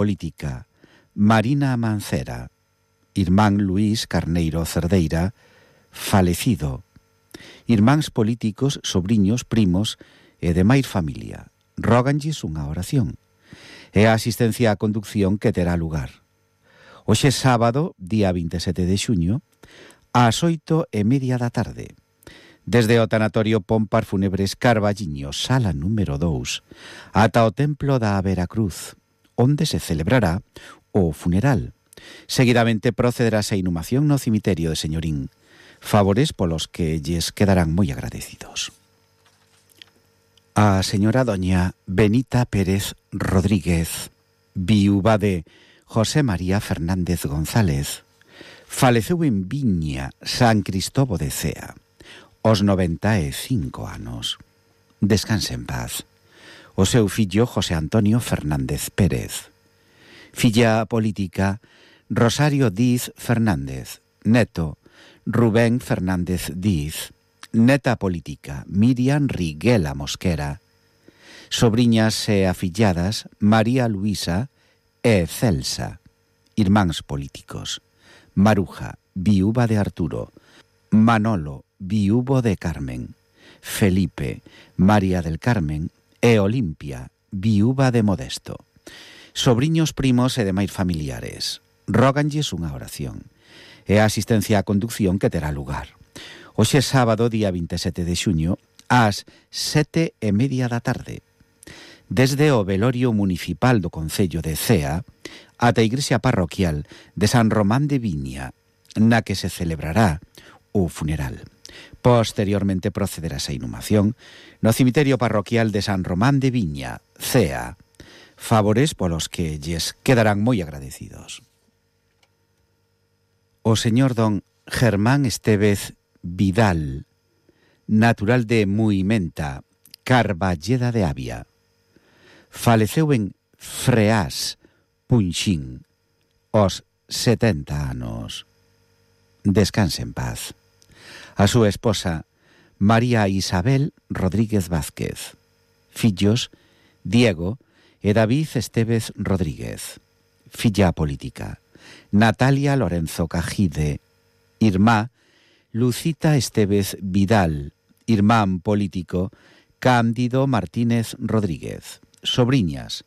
política, Marina Mancera. Irmán Luís Carneiro Cerdeira, falecido. Irmáns políticos, sobriños, primos e demais familia. Róganlles unha oración. E a asistencia á conducción que terá lugar. Hoxe sábado, día 27 de xuño, ás 8:30 da tarde. Desde o tanatorio Pompar Fúnebres Carballiño, sala número 2, ata o templo da Veracruz, onde se celebrará o funeral. Seguidamente procederase a inhumación no cemiterio de Señorín, favores polos que lles quedarán moi agradecidos. A señora doña Benita Pérez Rodríguez, viúva de José María Fernández González, faleceu en Viña, San Cristobo de Cea, aos 95 anos. Descanse en paz. O seu fillo José Antonio Fernández Pérez. Filla política Rosario Díaz Fernández. Neto Rubén Fernández Díaz. Neta política Miriam Riguela Mosquera. Sobriñas e afilladas María Luisa e Celsa. Irmáns políticos Maruja, viúva de Arturo. Manolo, viúvo de Carmen. Felipe, María del Carmen e Olimpia, viúva de Modesto. Sobriños, primos e demais familiares. Róganlles unha oración e a asistencia á conducción que terá lugar. Hoxe sábado, día 27 de xuño, ás 7:30 da tarde. Desde o velorio municipal do Concello de Cea ata a igrexa parroquial de San Román de Viña, na que se celebrará o funeral. Posteriormente procederá a inhumación no cemiterio parroquial de San Román de Viña, Cea, favores polos que lles quedarán moi agradecidos. O señor don Germán Estévez Vidal, natural de Muimenta, Carballeda de Avia, faleceu en Freás, Punxín, aos 70 anos. Descanse en paz. A súa esposa, María Isabel Rodríguez Vázquez. Fillos, Diego e David Estévez Rodríguez. Filla política, Natalia Lorenzo Cajide. Irmá, Lucita Estévez Vidal. Irmán político, Cándido Martínez Rodríguez. Sobriñas,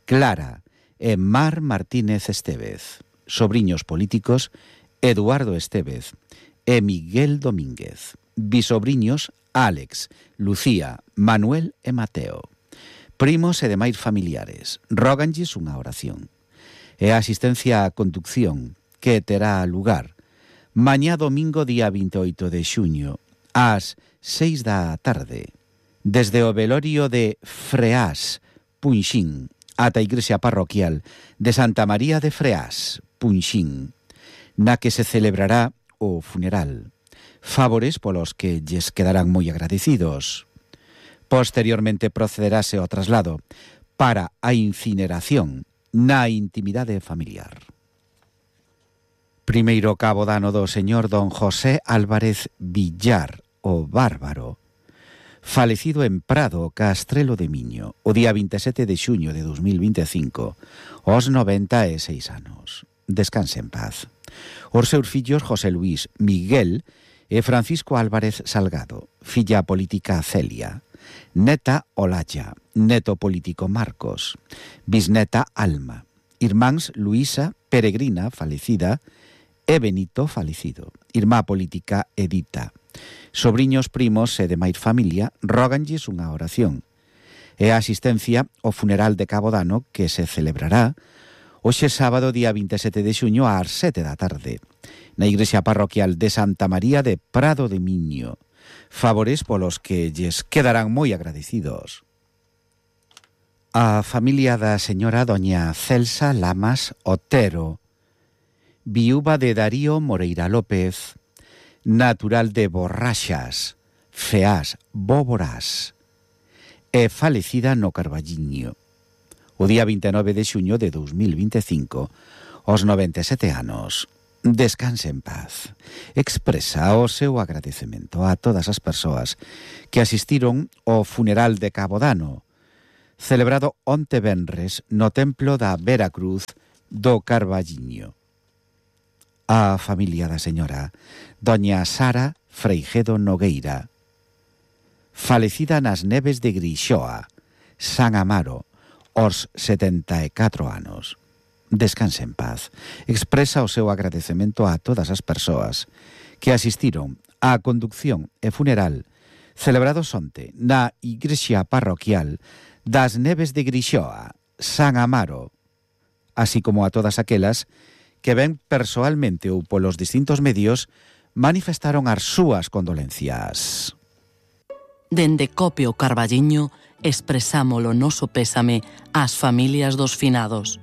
Clara e Mar Martínez Estévez. Sobriños políticos, Eduardo Estévez e Miguel Domínguez. Bisobriños, Álex, Lucía, Manuel e Mateo. Primos e demais familiares. Róganlles unha oración e a asistencia á conducción que terá lugar mañá domingo, día 28 de xuño, ás 6 da tarde, desde o velorio de Freás, Punxín, ata a igrexa parroquial de Santa María de Freás, Punxín, na que se celebrará o funeral. Favores polos que lles quedarán moi agradecidos. Posteriormente procederase ao traslado para a incineración na intimidade familiar. Primeiro cabo dano do señor don José Álvarez Villar, o Bárbaro, falecido en Prado, Castrelo de Miño, o día 27 de xuño de 2025, aos 96 anos. Descanse en paz. Os seus fillos José Luís, Miguel e Francisco Álvarez Salgado. Filla política Celia. Neta Olaya. Neto político Marcos. Bisneta Alma. Irmáns Luisa Peregrina, falecida, e Benito, falecido. Irmá política Edita. Sobriños, primos e demais familia róganlles unha oración e a asistencia ao funeral de Cabo Dano que se celebrará hoxe sábado, día 27 de xuño, ás 7 da tarde, na igrexa parroquial de Santa María de Prado de Miño. Favores polos que lles quedarán moi agradecidos. A familia da señora doña Celsa Lamas Otero, viúva de Darío Moreira López, natural de Borraxas, Feás, Bóboras, e falecida no Carballiño, o día 29 de xuño de 2025, aos 97 anos. Descanse en paz. Expresa o seu agradecemento a todas as persoas que asistiron ao funeral de Cabo Dano, celebrado onte venres no templo da Veracruz do Carballiño. A familia da señora doña Sara Freijedo Nogueira, falecida nas neves de Grixoa, San Amaro, aos 74 anos. Descanse en paz. Expresa o seu agradecemento a todas as persoas que asistiron á conducción e funeral celebrados onte na igrexa parroquial das neves de Grixoa, San Amaro, así como a todas aquelas que ben persoalmente ou polos distintos medios manifestaron as súas condolencias. Dende Copio Carballiño expresamos o noso pésame ás familias dos finados.